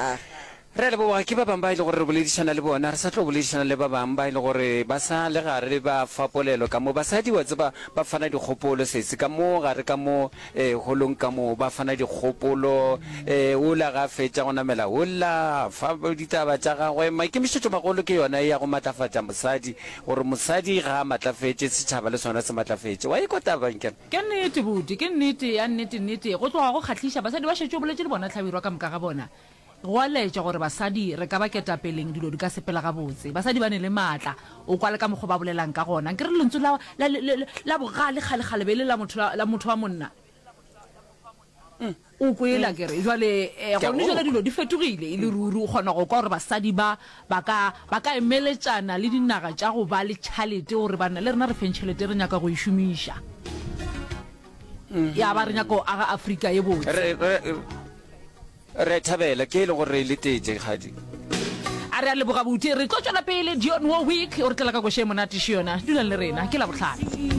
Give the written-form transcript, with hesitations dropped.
Ah. Re a leboga ke ba bangwe ba e le gore re boledišana le bona, re sa tlo boledišana le ba bangwe ba e le gore ba sa le gare ba fa polelo ka mo. Basadi wa tseba ba fana dikgopolo sesi ka mo gare ka mo eh, holong ka mo ba fana dikgopolo eh, ola ga a fetša go namela ola fa ditaba tša gagwe. Maikemišetšo magolo ke yona ya go matlafatša mosadi gore mosadi ga a matlafetše setšhaba le sona se matlafetše. Wa ikwa taba nkere? Ke nnete buti, ke nnete ya nnete nnete. Go tloga go kgahliša basadi ba šetše o boletše le bona Hlabirwa ka moka ga bona. Go a laetša gore basadi re ka ba ketapeleng dilo di ka sepela gabotse. Basadi ba ne le maatla, o kwa le ka mokgo ba bolelang ka gona. Nkere lentswe la, la, la, la bogale kgale-kgale be e le la motho, la, la motho wa monna. O kwele akere? Jwale, eh, Ke a gone jwale go kwa. dilo di fetogile e le ruri. O kgona go kwa gore basadi ba, ba ka, ba ka emeletšana le dinaga tša go ba le tšhalete gore banna le rena re feng tšhelete re nyaka go e šomiša. Ya ba re nyaka go aga Afrika ye botse. Re, re, Re a thabela, ke e le gore re e letetše, kgadi. A re a leboga buti. Re tlo tšwela pele. Dionne Warwick o re tlela ka koša e monate še yona. Dulang le rena. Ke Labohlano.